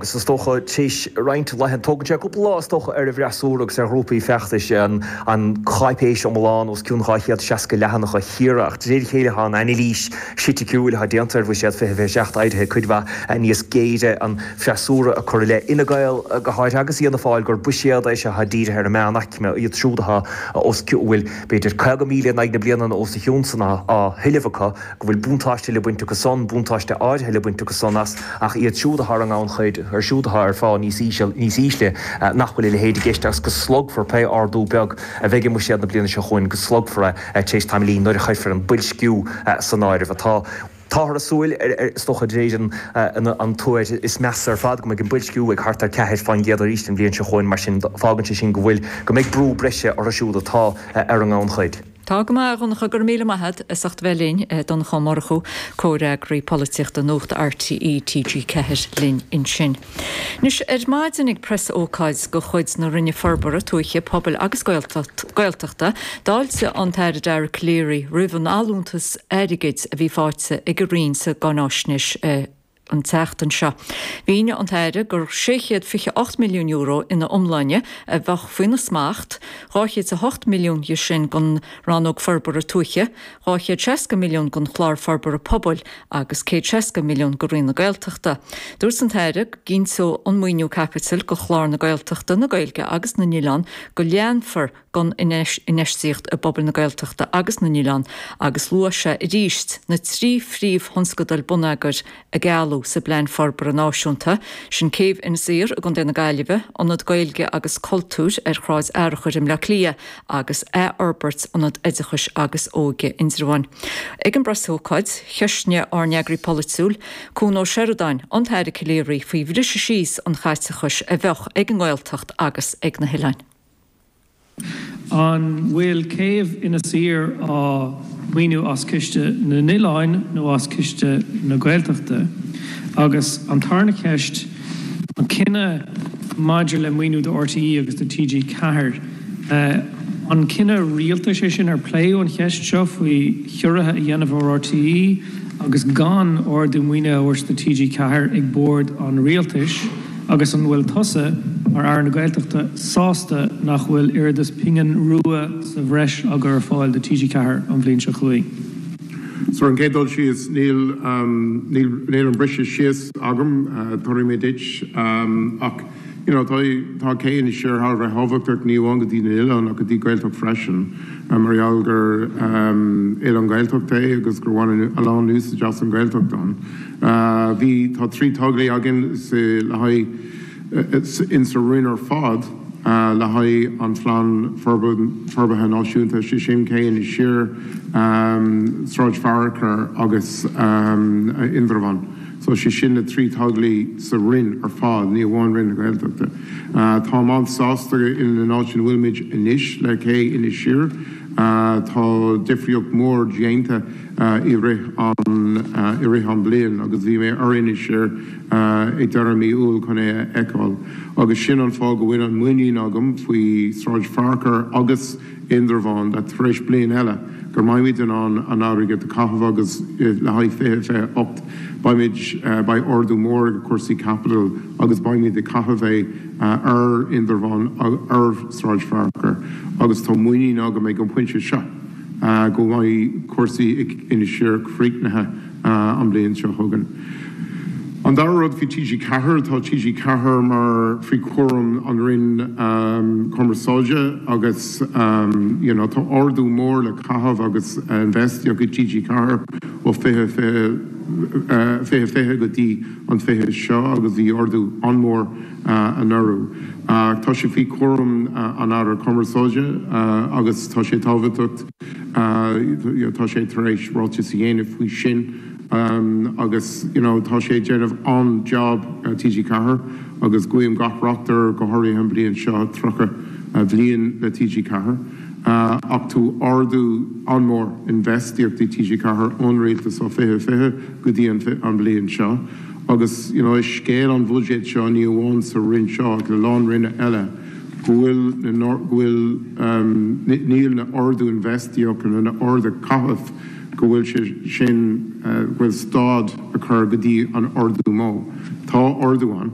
agus is dócha tar éis roinnt laethanta, tógann sé cúpla lá is dócha ar an bhfreasúra agus ar ghrúpaí feachtais an cháipéis iomlán os cionn 260 leathanach a chíoradh ach de réir a chéile tá an anailís chriticiúil atá déanta ar Bhuiséad 2027 éirithe cuid mhaith níos géire, an freasúra ag cur i leith Fhine Gael go háirithe agus Fhianna Fáil gur buiséad é seo atá dírithe ar an meánaicme, iad siúd atá os cionn, a bhfuil b'fhéidir 50,000 in aghaidh na bliana nó os a chionn san á thuilleamh acu. go bhfuil buntáiste le baint acu san, buntáiste áirithe le baint acu san as, ach iad siúd atá ar an ngannchuid, iad siúd atá ar phá níos íseal, níos ísle, nach bhfuil a leithéid i gceist agus go slogfar pé ardú beag a bheidh i mbuiséad na bliana seo chugainn, go slogfar é tar éis tamaillín nuair a chuirfear an boilsciú san áireamh. Atá. Táthar ag súil, is dócha, de réir an tuair is measa ar fad, go mbeidh an boilsciú ag thart ar 4% arís an bhliain seo chugainn, mar sin fágann sé sin go bhfuil, go mbeidh brú breise orthu siúd atá ar an ngannchuid. Tá go maith, a Dhonncha, go raibh míle maith agat as ucht a bheith linn. Donncha Ó Murchú, Comhfhreagraí Polaitíochta Nuacht RTÉ TG4 linn ansin. Anois, ar maidin ag preasócáid de chuid na Roinne Forbartha Tuaithe, Pobail agus Gaeltachta, d'fháiltigh an tAire Dara Calleary roimh an allúntas airgid a bhí faighte ag an Roinn sa gcáináisnéis an tseachtain seo. Mhínigh an tAire gur €628 milliún ina iomláine a bheadh faoina smacht, 208 milliún dhe sin don Rannóg Forbartha Tuaithe, 260 milliún don Chlár Forbartha Pobail agus 160 milliún do Roinn na Gaeltachta. Dúirt an tAire go gcinnteodh an maoiniú caipitil do chlár na Gaeltachta, na Gaeilge agus na nOileán go leanfar den infheistíocht i bpobail na Gaeltachta agus na n-oileán agus luaigh sé arís na 3 phríomhthionscadal bonneagair a gealladh sa bPlean Forbartha Náisiúnta, sin Céibh Inis Oírr i gContae na Gaillimhe, Ionad Gaeilge agus Cultúir ar Shráid Fhearchair i mBleá Cliath agus athfhorbairt Ionad Oideachais agus Óige Indreabháin. Ag an bpreasócáid, cheistnigh ár n-eagraí polaitiúil, Cuan Ó Seireadáin, an tAire Calleary faoi bhriseadh síos an chaiteachais a bheadh ag an nGaeltacht agus ag na hoileáin. An bhfuil céibh Inis Oírr á maoiniú as Ciste na nOileáin nó as Ciste na Gaeltachta? Agus an tarna ceist, an cinneadh maidir le maoiniú do RTÉ agus do TG4, an cinneadh rialtais é sin? Ar pléadh an cheist seo faoi chiorruithe a dhéanamh ar RTÉ agus gan ardú maoinithe a thabhairt do TG4 ag bord an rialtais? Agus an bhfuil tusa, mar Aire na Gaeltachta, sásta nach bhfuil oiread is pingin rua sa bhreis á gcur ar fáil do TG4 an bhliain seo chugainn? So ar an gcéad dul síos, níl, níl, níl an briseadh síos agam, tabharfaidh mé duit, ach you know tá, tá cé Inis Oírr thar a bheith tábhachtach, ní amháin go dtí na hoileáin ach go dtí Gaeltacht freisin, mar gheall gur oileán Gaeltachta é agus gur bhain a lán úsáid as an Ghaeltacht ann. Bhí, tá 3 tograí againn sa, le haghaidh, in sa Roinn ar fad le haghaidh an Phlean Forbartha Náisiúnta, sé sin Cé Inis Oírr, Sráid Fearchair agus Indreabhán. So sé sin na 3 tograí sa Roinn ar fad, ní amháin Roinn na Gaeltachta. Táim an-sásta in an áit ina bhfuilimid anois le Cé Inis Oírr. Tá difríocht mór déanta. i rith an i rith an bliain agus bhí mé ar Inis Oírr ag deireadh mí Iúil chun é a fheiceáil agus sin an fáth go bhfuil an muinín agam faoi Sráid Fearchair agus Indreabhán that tar éis bliain eile go mbeimid in ann an airgead a chaitheamh agus le haghaidh 2028 beimid beidh ardú mór ag cúrsaí caipitil agus beimid ag caitheamh é ar Indreabhán ar Sráid Fearchair agus tá muinín agam ag an pointe seo. go mbeidh cúrsaí ag Inis Oírr críochnaithe an bhliain seo chugainn. An dara rud faoi TG4, tá TG4 mar faoi chúram an Roinn Cumarsáide agus you know tá ardú mór le caitheamh agus infheistíocht i TG4 ó 2020 go dtí an 20 seo agus bhí ardú an-mhór anuraidh. Tá sé faoi chúram an Aire Cumarsáide agus tá sé tábhachtach, tá sé tar éis ráiteas a dhéanamh faoi sin agus you know tá sé ag déanamh an-job TG4 agus guím gach rath air go háirithe an bhliain seo, 30 bhliain le TG4. Ach tá ardú an-mhór infheistíocht i TG4 ón rialtas ó 2020 go dtí an bhliain seo. Agus you know is scéal an bhuiséid seo, ní amháin sa Roinn seo ach le lán Roinne eile, go bhfuil na, go bhfuil, níl na ardú infheistíochta nó na ardú caitheamh, go bhfuil sé sin, go bhfuil stad a chur go dtí an ardú mó. Tá ardú ann.